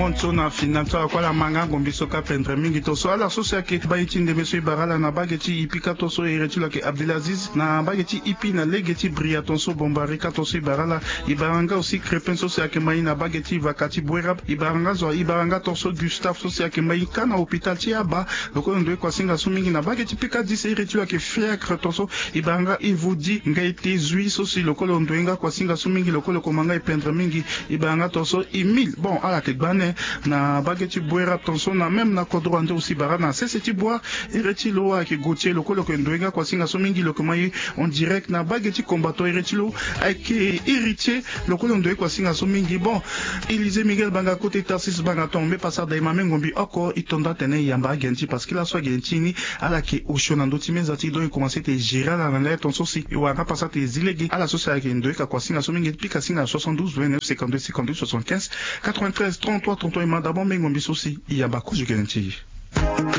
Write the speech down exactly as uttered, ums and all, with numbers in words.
Nso na fina nso akua ala ma nga ngombi so ka pendre mingi tonso ala so si ayeke baa ye ti ndembe so e bara ala na bage ti ipika tonso ere ti lo ayeke Abdelaziz na bage ti ipi na lege ti bria tonso bombari ka tonso e bara ala. E bara nga aussi Crépin so si ayeke ma ye na bage ti vaka ti Bouérab. E bara nga zo e bara nga tonso Gustave so si ayeke ma ye ka na hôpital ti Aba. Lokolo ndoye kuasinga so mingi na bage ti pika dix ere ti lo ayeke Fiacre tonso. E bara nga Ivoudi nga ete zui so si lokolo ndoye nga kuasinga so mingi lokolo koma nga e pendre mingi. E bara nga tonso Emile bon ala yeke gba ane na bage ti Bouérab tonso na même na kodro ande aussi bara na sese ti Bouérab. Ere ti lo ayeke Gauthier lokolo yeke ndoye nga kuasinga so mingi lo yeke ma ye en direct na bage ti combattant ere ti lo. Ayeke Héritier lokolo ndoye kuasinga so mingi bon. Élisée Miguel Banga côté Tarsis Banga ton mbe pasa da e ma mbe ngombi oko e to nda atene e yamba age ni ti parce que laso age ni ti ni ala yeke osio na ndö ti meza ti e donc e komanse ete e gérer ala na lere tonso si e wara nga pasa ete e zi lege ala so si ayeke ndoye ka kuasinga so mingi pika singa na soixante-douze vingt-neuf cinquante-deux cinquante-deux soixante-quinze quatre-vingt-treize trente-trois trente-trois e ma d'abord mbe ngombi so si e yamba kozo gene ti e.